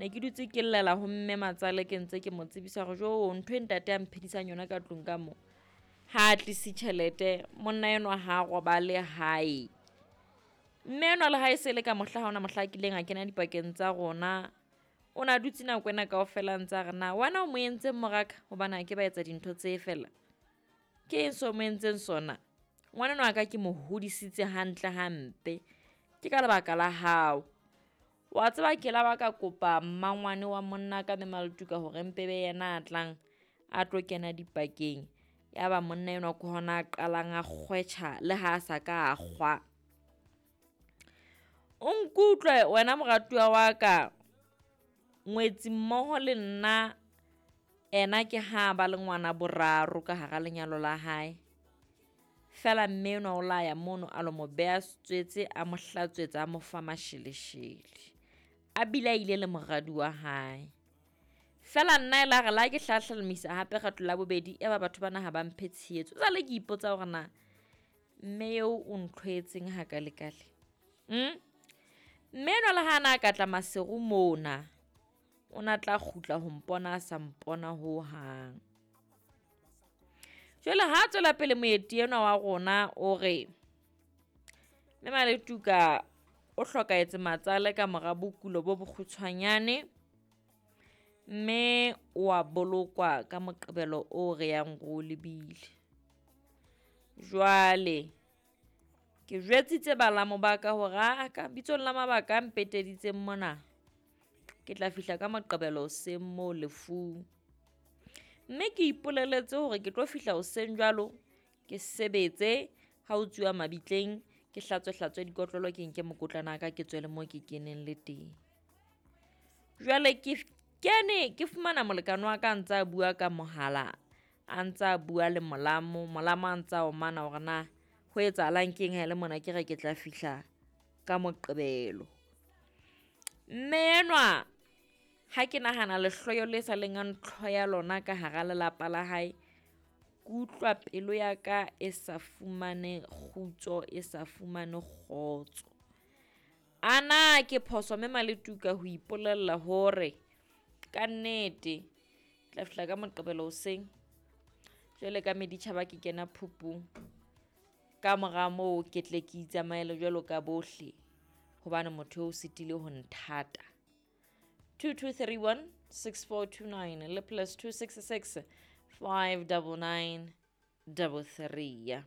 Ne ke dutse ke llela ho mme matsale ke ntse ke mo tsebisa hore jo ntho e ntate a mphedisang yona ka tlung ka mo. Ha a tlise tjhelete, monna enwa ha a robale hae. Mme enwa le ha e se le ka mohla ha ona mohla a kileng a kena dipakeng tsa rona. O na dutse nako ena kaofela a ntse a re na wena o mo entseng moraka hobane ha ke ba etsa dintho tse fela. Ke eng so mo entseng sona? Ngwana enwa wa ka ke mo hodisitse hantle hampe. Ke ka lebaka la hao. Wa tseba ke la ba ka kopa mmangwane wa monna ka mme Maletuka hore mpe be yena a tlang a tlo kena dipakeng. Ya ba monna enwa ke hona a qalang a kgwetjha le ha a sa ka a kgwa. O nkutlwe wena moratuwa wa ka, ngwetsi mmoho le nna ena ke ha ba le ngwana boraro ka hara lenyalo la hae. Fela mme enwa o la ya mono a lo mo beha setswetse, a mo hlatswetsa, a mo fa masheleshele. A bile a ile le moradi wa hae. Fela nna e la re la ke hlahlamisa hape kgetlo la bobedi, ya ba batho bana ha ba mphe tshehetso. Jwale ke ipotsa hore na mme eo o ntlhoetseng hakalekale. Mme enwa le ha na ka tla Maseru mona, o na tla kgutla ho mpona a sa mpona hohang. Jwale ha tswela pele moeti enwa wa rona o re, mme Maletuka o hlokahetse matsale ka mora bokulo bo bokgutshwanyane, mme o a bolokwa ka Moqebelo o re yang ro lebile. Jwale ke jwetsitse balamo ba ka hore a ka bitsong la mabaka a mpeteditseng mona, ke tla fihla ka Moqebelo hoseng moo lefung. Mme ke ipoleletse hore ke tlo fihla hoseng jwalo, ke sebetse ha ho tsuwa mabitleng, ke hlatswe-hlatswe dikotlolo, ke nke mokotlana wa ka ke tswele moo ke keneng le teng. Jwale ke kene ke fumana molekane wa ka a ntse a bua ka mohala, a ntse a bua le molamo, molamo a ntse a omana hore na ho etsahalang keng ha ele mona ke re ke tla fihla ka Moqebelo. Mme enwa ha ke nahana lehloyo le sa leng a ntlhoya lona ka hara lelapa la hae, ke utlwa pelo ya ka e sa fumane kgutso, e sa fumane kgotso. Ana ke phoso mme Maletuka ho ipolella hore ka nnete tla fihla ka Moqebelo hoseng. Jwale ka meditjhaba ke kena phupung. Ka mora moo ke tle ke itsamaele jwalo ka bohle hobane motho eo o sitile ho nthata. 2231 6429 le plus 266 599 33.